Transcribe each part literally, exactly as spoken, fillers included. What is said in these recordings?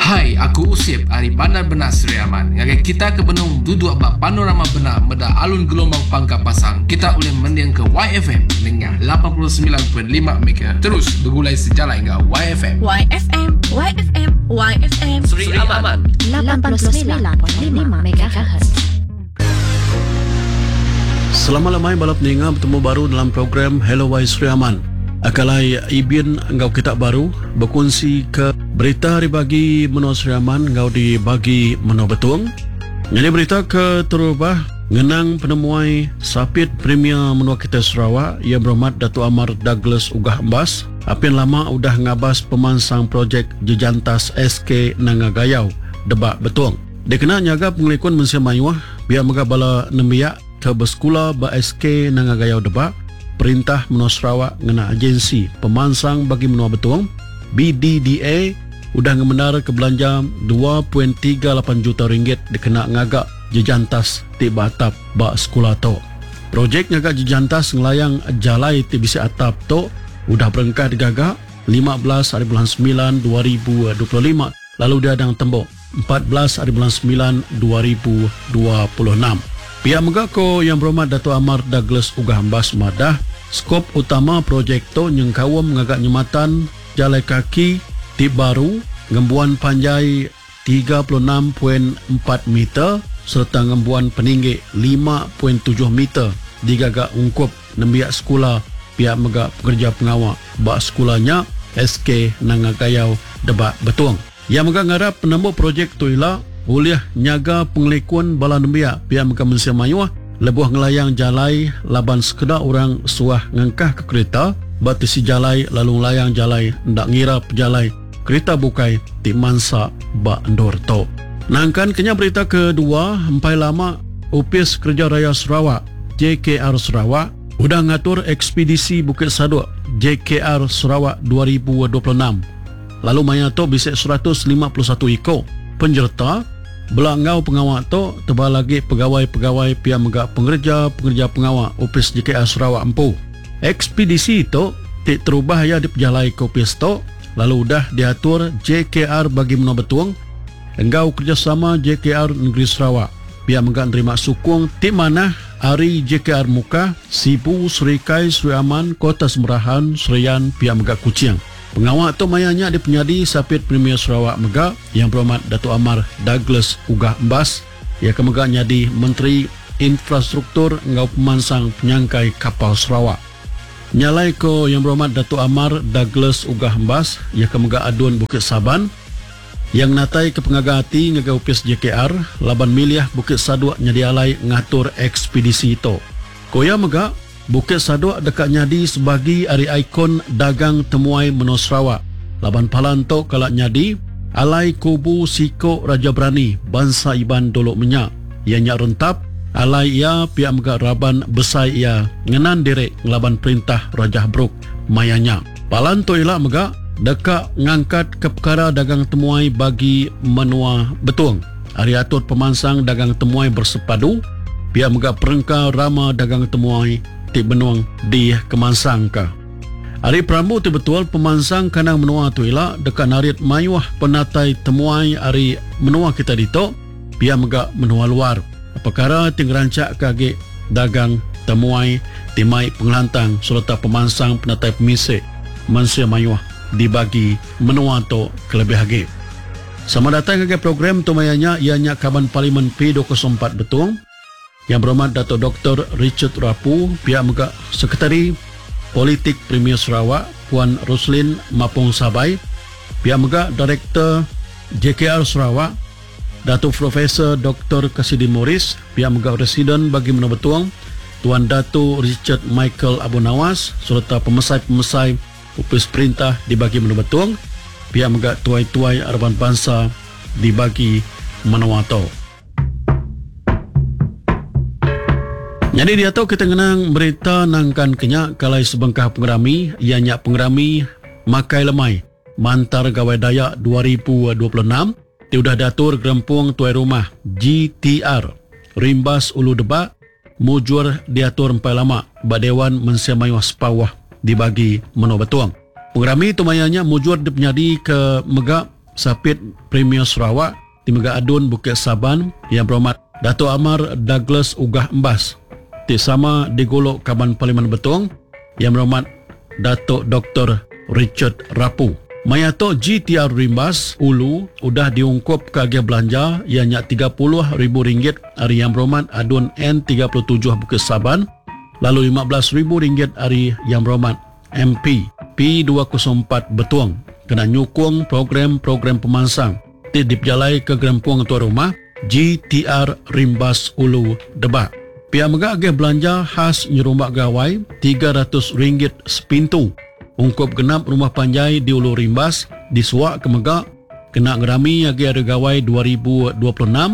Hai, aku Usip ari Bandar Benak Sri Aman. Ngagai kita ke benung duduk ba Panorama Benak meda alun gelombang pangka pasang, kita ulih mending ke Y F M dengan lapan puluh semilan perpuluhan lima megahertz. Terus bergulai sejalai enggau Y F M. Y F M, Y F M, Y F M. Sri Aman. lapan puluh semilan perpuluhan lima M H. Selamat lemai bala peninga, betemu baru dalam program Hello Y Sri Aman. Akalai Ibin enggau kita baru berkongsi ke berita hari bagi Menua Sri Aman enggau di bagi Menua Betung. Jadi berita ke terubah ngenang penemuai Sapit Premier Menua kita Sarawak, Yang Berhormat Datuk Amar Douglas Uggah Embas. Apin lama udah ngabas pemansang projek Jejantas S K Nanga Gayau, Debak Betung. Dikena nyaga pengelikun mensia mayuh, biar mega bala nembiak ke bersekula ba S K Nanga Gayau Debak, Perintah Menua Sarawak ngena agensi pemansang bagi Menua Betung B D D A udah ngemendar ke belanja dua perpuluhan tiga lapan juta ringgit dikena ngagak jejantas ti atap ba sekolah tu. Projek ngagak jejantas ngelayang jalai ti bisi atap tu udah berengkah digagak lima belas hari bulan sembilan dua ribu dua puluh lima lalu diadang tembok empat belas hari bulan sembilan dua ribu dua puluh enam. Pihak mega ko Yang Berhormat Datuk Amar Douglas Uggah Embas madah, skop utama projek tu nyengkawam ngagak nyematan jalai kaki ti baru ngembuan panjai tiga puluh enam perpuluhan empat meter serta ngembuan peninggi lima perpuluhan tujuh meter digagak ungkup nembiak sekolah pihak mega pekerja pengawal ba sekolahnya S K Nanga Gayau Debak Betung. Yang mega ngarap penemu projek tu ila ulih nyaga pengelikun bala nembiak pihak mega mensia mayuh lebuh ngelayang jalai laban sekeda orang suah ngengkah ke kereta batisi jalai lalu ngelayang jalai ndak ngira pejalai kereta bukai ti mansa ba endur tu. Nangkan kenya berita kedua, empai lama Opis Kerja Raya Sarawak J K R Sarawak udah ngatur ekspedisi Bukit Sadok J K R Sarawak dua ribu dua puluh enam. Lalu maya tu bisa seratus lima puluh satu iko penyerta bela enggau pengawal tu, tebal lagi pegawai-pegawai pihak mega pengerja-pengerja pengawal Opis J K R Sarawak empu. Ekspedisi itu ti terubah ya dipejalai ke opis tu lalu udah diatur J K R bagi Menua Betung enggau kerjasama J K R Negeri Sarawak. Pihak mega nerima sukung ti manah ari J K R Mukah, Sibu, Serikai, Sri Aman, Kota Semerahan, Serian, pihak mega Kuching. Pengawal tu mayanya di penyadi Sapit Premier Sarawak mega Yang Berhormat Datuk Amar Douglas Uggah Embas, ia ke mega nyadi Menteri Infrastruktur enggau Pemansang Penyangkai Kapal Sarawak. Nyalai ko Yang Berhormat Datuk Amar Douglas Uggah Embas, ia ke mega Adun Bukit Saban, yang natai ke pengaga hati ngagai opis J K R laban milih Bukit Sadok nyadi alai ngatur ekspedisi itu. Koya mega Bukit Sadok dekat nyadi sebagi ari ikon dagang temuai Menua Sarawak. Laban palan tu kalak nyadi alai kubu siko Raja Berani bangsa Iban dolok minyak. Ia nyak Rentap, alai ia pihak mega raban besai ia ngenan direk ngelaban perintah Raja Brooke mayanya. Palan tu ila mega dekat ngangkat ke perkara dagang temuai bagi Menua Betung. Ari atur pemansang dagang temuai bersepadu, pihak mega perengka rama dagang temuai ti benuang di Kemansang ka. Ari perambu ti betul pemansang kandang menua tu ila dekat narit mayuh penatai temuai ari menua kita ditu pihak mega menua luar. Perkara ti ngerancak ke agi dagang temuai ti mai pengelantang serta pemansang penatai pemisik mensia mayuh dibagi menua tu kelebih agi. Sama datang ke program tu mayanya ianya Kaban Parlimen P dua kosong empat Betung Yang Berhormat Dato' Doktor Richard Rapu, pihak mega Sekretari Politik Premier Sarawak Puan Roslin Mapong Sabai, pihak mega Direktur J K R Sarawak Dato' Profesor Doktor Cassidy Morris, pihak mega Residen bagi Menua Betung Tuan Dato' Richard Michael Abu Nawas serta pemesai-pemesai Opis Perintah dibagi Menua Betung, pihak mega tuai-tuai araban bangsa dibagi Menua tu. Jadi dia tahu kita ngenang berita nangkan kenya kalai sebengkah pengerami ianya pengerami Makai Lemai Mantar Gawai Dayak dua ribu dua puluh enam ti udah diatur Gerempung Tuai Rumah G T R Rimbas Ulu Debak mujur diatur empai lama ba Dewan Mensia Mayuh Sepawah dibagi Menua Betung. Pengerami tu mayanya mujur dipenyadi ke mega Sapit Premier Sarawak ti mega Adun Bukit Saban Yang Berhormat Datuk Amar Douglas Uggah Embas ti sama digulu Kaban Parlimen Betong Yang Berhormat Datuk Doktor Richard Rapu. Maya tu G T R Rimbas Ulu udah diungkup ke agih belanja ianya tiga puluh ribu ringgit ari Yang Berhormat Adun N tiga puluh tujuh Bukit Saban, lalu lima belas ribu ringgit ari Yang Berhormat M P P dua kosong empat Betong kena nyukung program-program pemansang ti dipejalai ke Gerempung Tuan Rumah G T R Rimbas Ulu Debak. Pihak mega agih belanja khas nyerumbak gawai tiga ratus ringgit sepintu ungkup genap rumah panjai di Ulu Rimbas disuak ke mega kena ngerami agi hari gawai dua ribu dua puluh enam.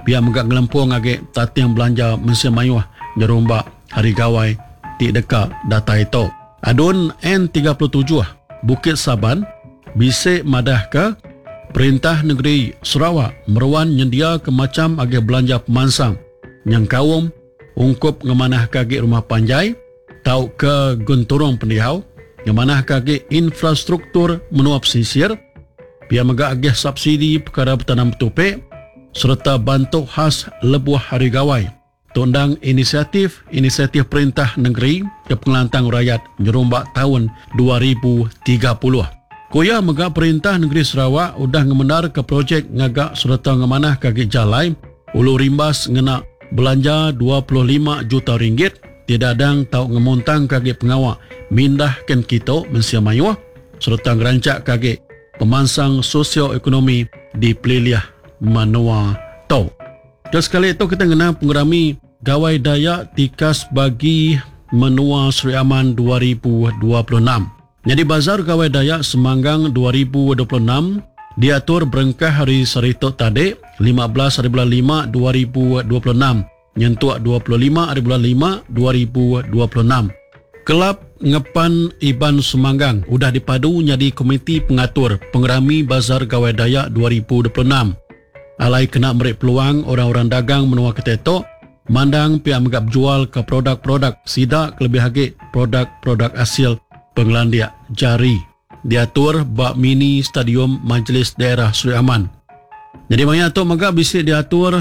Pihak mega ngelempung agi tating belanja mensia mayuh nyerumbak hari gawai ti deka datai tu. Adun N tiga puluh tujuh Bukit Saban bisik madah ke Perintah Negeri Sarawak meruan nyendia ke macam agi belanja pemansang nyengkaum ungkup ngemanah ke agi rumah panjai tau ke genturung pendiau, ngemanah ke agi infrastruktur menua pesisir, pia mega agih subsidi perkara bertanam tupik serta bantu khas lebuh hari gawai. Tundang inisiatif-inisiatif perintah negeri ke pengelantang rakyat nyerumbak tahun dua ribu tiga puluh. Kuya mega perintah negeri Sarawak udah ngemendar ke projek ngagak serta ngemanah ke agi jalai Ulu Rimbas ngena belanja dua puluh lima juta ringgit tidak adang tau ngemuntang ke agi pengawak mindah ken kito mensia mayuh serta ngerancak ke agi pemansang sosioekonomi di pelilih menua tau. Terus sekali itu kita ngenang pengerami Gawai Dayak Tikas bagi Menua Sri Aman dua ribu dua puluh enam. Jadi Bazar Gawai Dayak Semanggang dua ribu dua puluh enam diatur berengkah hari Saritok tadi lima belas hari bulan lima dua ribu dua puluh enam nyentuk dua puluh lima hari bulan lima dua ribu dua puluh enam. Kelab Ngepan Iban Semanggang udah dipadu jadi komiti pengatur pengerami Bazar Gawai Dayak dua ribu dua puluh enam. Alai kena merik peluang orang-orang dagang menua ketetok mandang pihak megap jual ke produk-produk sidak lebih lagi produk-produk hasil pengelandiak jari. Diatur bak mini stadium Majlis Daerah Sri Aman. Jadi maya tu megap bisik diatur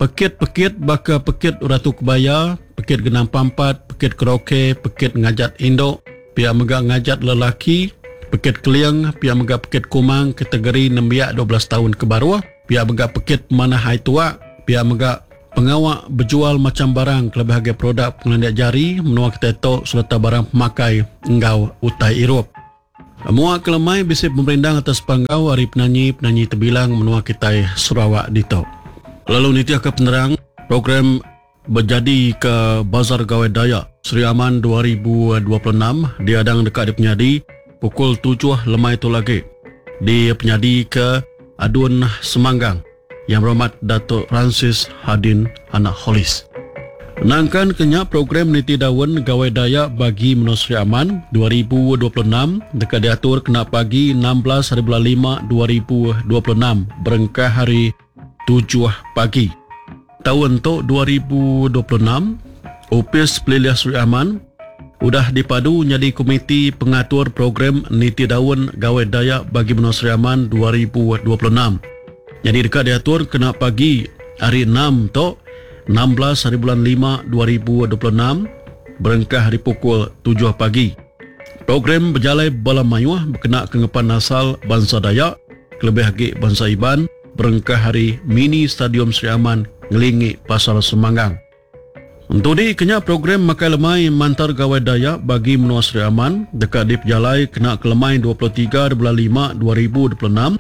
pekit-pekit baka pekit Ratu Kebaya, pekit Genang Pampat, pekit Karaoke, pekit Ngajat Indok, pihak megap ngajat lelaki, pekit Keliang, pihak megap pekit Kumang kategori nembiak dua belas tahun ke bawah, pihak megap pekit Manah Hai Tuak, pihak megap pengawak berjual macam barang kelebih harga produk pengelandiak jari menua ketetok serta barang pemakai enggau utai Eropah. Muak kelemai bisik pemerindang atas panggau hari penyanyi-penyanyi terbilang menua kitai Sarawak ditok. Lalu nitiah ke penerang program berjadi ke Bazar Gawai Dayak Sri Aman dua ribu dua puluh enam diadang dekat di penyadi pukul tujuh lemai tu lagi di penyadi ke Adun Semanggang Yang Berhormat Datuk Francis Hadin Anak Hollis. Nangkan kenya program Niti Daun Gawai Dayak bagi Menua Sri Aman dua ribu dua puluh enam dekat diatur kena pagi enam belas hari bulan lima dua ribu dua puluh enam berengkah hari tujuh pagi. Tahun tu dua ribu dua puluh enam, Opis Pelilih Sri Aman udah dipadu jadi komiti pengatur program Niti Daun Gawai Dayak bagi Menua Sri Aman dua ribu dua puluh enam. Jadi dekat diatur kena pagi hari enam tu enam belas hari bulan lima dua ribu dua puluh enam berengkah hari pukul tujuh pagi. Program berjalai bala mayuh berkena kengepan asal bangsa Dayak, kelebih lagi bangsa Iban, berengkah hari mini Stadium Sri Aman ngelingi Pasar Semanggang. Untuk di kenya program makai lemai Mantar Gawai Dayak bagi Menua Sri Aman dekat di Pejalai kena kelemai dua puluh tiga bulan lima dua ribu dua puluh enam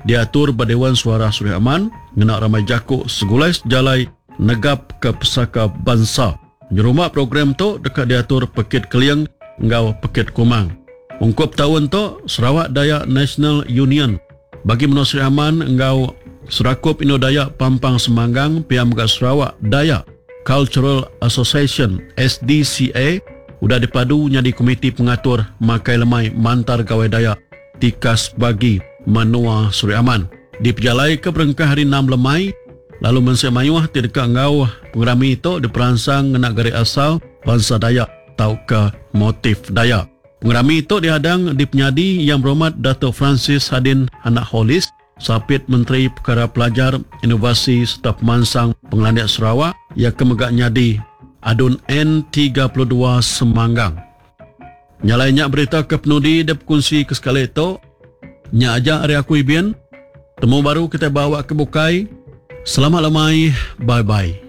diatur Dewan Suara Sri Aman ngena ramai jakuk segulai sejalai negap ke pesaka bangsa. Nyerumah program tu dekat diatur Pekit Keliang enggau Pekit Kumang. Ungkup tahun tu Sarawak Dayak National Union bagi Menua Sri Aman enggau Serakup Indo Dayak Pampang Semanggang P M G Sarawak Dayak Cultural Association S D C A udah dipadu jadi komiti pengatur Makai Lemai Mantar Gawai Dayak Tikas bagi Menua Sri Aman. Dipejalai ke berengkah hari enam lemai lalu mensia mayuh ti dekat ngau pengerami itu diperansang ngena gari asal bangsa Dayak tau ke motif Dayak. Pengerami tu dihadang dipenyadi Yang Berhormat Dato Francis Hadin Anak Hollis, Sapit Menteri Pekara Pelajar, Inovasi sereta Pemansang Pengelandik Sarawak, iya ke mega nyadi Adun N tiga puluh dua Semanggang. Nya alai nya berita ke penudi dep kunsi ke sekali tu. Nya aja ari aku Ibin. Temu baru kita bawa ke bukai. Selamat lemai. Bye-bye.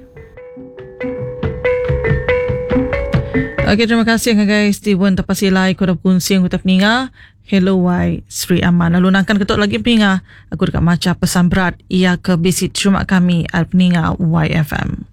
Okey, terima kasih ngagai Steven Tapasilai ku udah bekunsi enggau kita peninga. Hello Y Sri Aman. Lalu nangkan ketuk lagi peninga, aku deka macha pesan berat ia ke bisi terima kami ari peninga Y F M.